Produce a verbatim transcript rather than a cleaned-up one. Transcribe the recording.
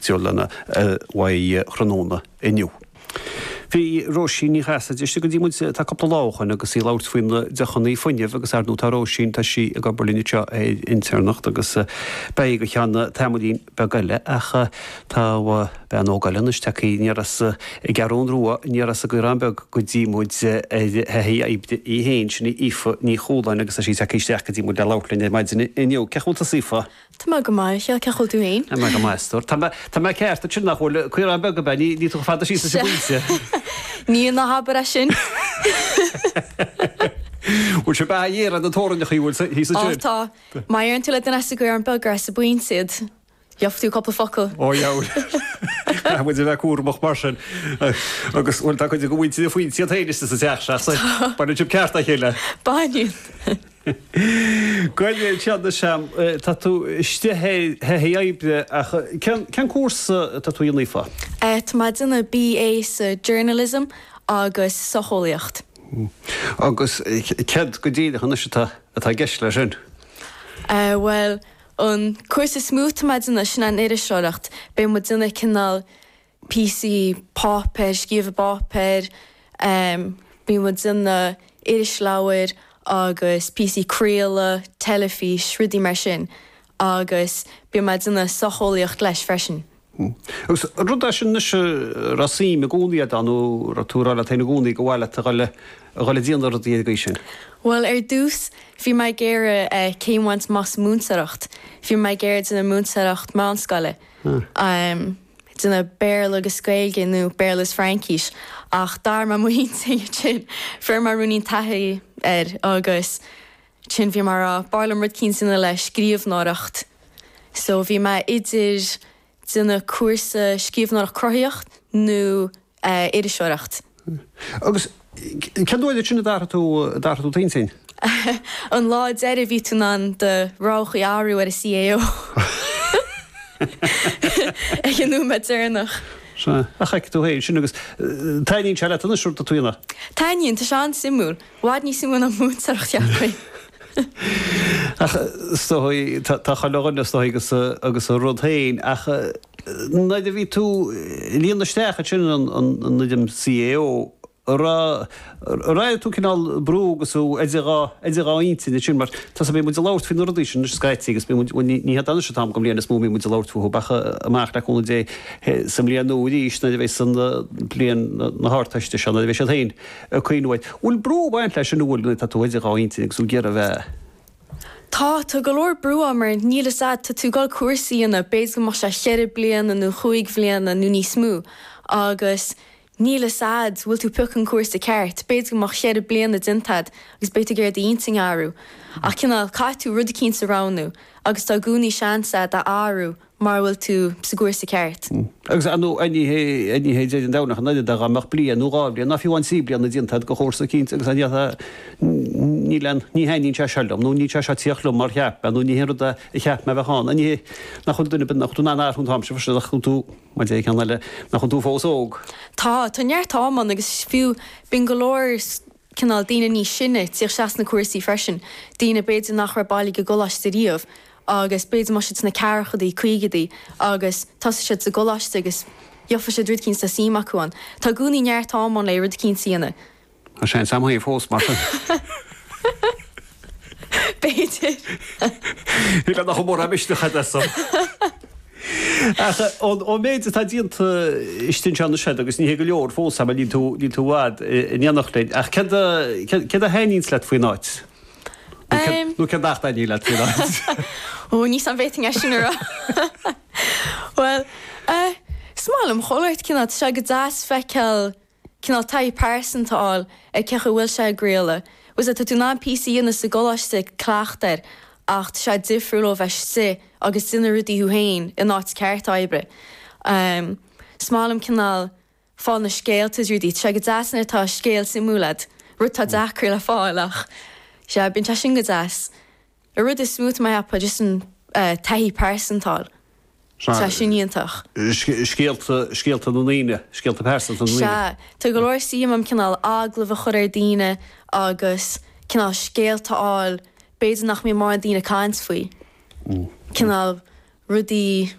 pictiúrlanna uaidh tráthnóna inniu. Bhí Róisín Ní Chasaide istigh go dtí muid tá cúpla lá ó shoin agus í ag labhairt faoi na deochanna fuinnimh agus ar ndóigh tá Róisín tá sí ag obair linn anseo ar intéirneacht agus beidh go ceann tamaillín beag eile ach tá bean óg eile anois tagtha aniar as an gCeathrú Rua aniar as an gCaorán Beag go dtí muid ar thaithí oibre í féin sin í Aoife Ní Chualáin agus tá sí tagtha isteach go dtí muid le labhairt linn ar maidin inniu. Cén chaoi a bhfuil tusa Aoife? Tá mé go maith, cén chaoi a bhfuil tú féin? Tá mé go maith, a stór. Tá mé, tá mé ceart ansin nach bhfuil Caorán Beag ab ea? Ní, ní tú chomh fada síos leis an bPointe. Ní ná habair é sin. Bhfuil sé beatha ghéar ar na teorainneacha bhfuil thíos Ó ansin? tá. Má deireann tú le duine as an gCaorán Beag gur as an bPointe iad, gheobhaidh tú cúpla focal. Ó dheabhail. Caithfidh muid a bheith cúramach mar sin. Agus bhuel tá cuid de mhuintir an Phointe iad féin istigh sa teach seo, so baineann sibh ceart dá chéile. Baineann. Gabh i leith anois, tá tú istigh ar thaithí oibre ach cén cén cúrsa atá tú a dhéanamh Aoife? Tá mé ag déanamh BA sa Journalism agus Socheolaíocht. Agus céard go díreach anois atá atá i gceist leis sin? Bhuel, an cúrsa is mó atá mé ag déanamh sin an iriseoireacht. Beidh muid ag déanamh cineál píosaí páipéir, scríobh i bpáipéir, bíonn muid ag déanamh irisleabhair agus píosaí craoladh, teilifís, rudaí mar sin agus bíonn mé ag déanamh socheolaíocht leis freisin. Agus rud é sin anois a raibh suim i gcónaí agat ann nó raibh tú ag rá leat féin i gcónaí gur mhaith leat a dhul a dhul ag déanamh rudaí ar an gcaoi sin? Bhuel ar dtús bhí mé ag iarraidh céim a bhaint amach sa múinteoireacht. Bhí mé ag iarraidh déanamh múinteoireacht meánscoile. déanamh Béarla agus Gaeilge nó Béarla is Fraincís ach d'athraigh mé m'intinn ansin. Fuair mé ruainnín taithí air agus ansin bhí mé ag rá b'fhearr liom rud eicínt a dhéanamh le scríbhneoireacht. So bhí mé idir déanamh cúrsa scríbhneoireacht cruthaitheach nó iriseoireacht. Agus cén uair sin a d'athraigh tú, a d'athraigh tú d'intinn? An lá deiridh bhí tú in ann do roghachaí a athrú ar an CAO. Ag an nóiméad deireanach. Sea, ach feiceann tú féin sin agus taitníonn sé leat anois rud atá tú a dhéanamh? Taitníonn, tá sé an-suimiúil. I bhfad níos suimiúil ná múinteoireacht, cheapfainn. Ach is dóigh, tá chuile dhuine is dóigh agus agus a rud féin ach nuair a bhí tú ag líonadh isteach ansin an fhoirm CAO, an raibh, ar airigh tú cineál brú agus tú idir dhá, idir dhá intinn ansin mar tá 's bíonn muid ag labhairt faoi na rudaí sin anois scaití agus bíonn muid, bhuel ní, ní hiad anois an t-am den bhliain is mó a mbíonn muid ag labhairt fúthu ach amach le cúnamh Dé sa mbliain nua arís nuair a bheas an bliain na hArdteiste seo nuair a bheidh siad féin ag cuimhniú air. Bhfuil brú ag baint leis sin an bhfuil nuair atá tú idir dhá intinn agus tú ag iarraidh a bheith. Tá, tá go leor brú ann mar níl fhios a'd, tá tú ag dul cúrsa a dhéanamh, b'fhéidir go mbeadh sé cheithre bliana nó chúig bhliana nó níos mó agus Níl fhios a'd bhfuil tú piocadh an cúrsa ceart, b'fhéidir go mbeadh cheithre bliana déanta a'd agus beidh tú ag iarraidh d'intinn a athrú. Ach cineál, caithfidh tú rud eicínt a roghnú agus tá i gcónaí seans a'd a athrú mara bhfuil tú sa gcúrsa ceart. Agus ar ndóigh ní hé ní hé deireadh an domhain ach an oiread dá mbeadh bliain nó dhá bhliain ná fiú amháin trí bliana déanta a'd de chúrsa eicínt agus an níl aon ní thaitníonn sé seo liom nó níl sé seo ag tíocht liom mar cheap mé nó ní hé an rud a cheap mé a bheadh ann. Ní hé nach bhfuil duine ar bith nach bhfuil tú in ann athrú an t-am seo freisin nach bhfuil tú Mar deir ceann eile, nach bhfuil tú fós óg. Tá, tá neart am ann agus fiú bíonn go leor cineál daoine níos sine ag tíocht isteach sna cúrsaí freisin, daoine b'fhéidir nach raibh bailithe ag an gcoláiste riamh agus b'fhéidir mbeadh siad sna ceathrachaidí, caogaidí agus tosóidh siad sa gcoláiste agus gheobhaidh siad rud eicínt atá suim acu ann. Tá i gcónaí neart am ann le rud eicínt a dhéanamh. Tá seans a'm féin fós, mar sin. B'fhéidir. Shílfeá nach mórán misneach agat as san. Ach ón méid atá déanta istigh anseo anois agat, agus ní hé go leor fós, mar níl tú níl tú i bhfad in éineacht linn, ach céard a céard a thaitníonns leat faoin áit? Nó céard nach dtaitníonn leat faoin áit? Ó, níl 's a'm an bhféadfainn é sin a rá. Bhuel, is maith liom chuile shórt cineál, tá sé go deas feiceáil cineál taithí pearsanta a fháil ar cén chaoi a bhfuil sé ag craoladh. Bhfuil 's a'd, tá tú in ann píosa a dhéanamh sa gcoláiste ag cleachtadh air ach tá sé difriúil ó bheith istigh agus déanamh rudaí thú féin in áit ceart oibre. Is maith liom cineál fáil na scéalta is rudaí. Tá sé go deas nuair atá scéal suimiúil a'd, rud atá deacair le fáil ach sea, bíonn sé sin go deas. An rud is mó tá mé a cheapadh just an taithí pearsanta a fháil. Tá sin iontach. Scéalta, scéalta na ndaoine, scéalta pearsanta na ndaoine. Sea. Tá go leor suim a'm cineál agallamh a chur ar daoine agus cineál scéalta a fháil, b'fhéidir nach mbíonn mórán daoine ag caint faoi. Cineál rudaí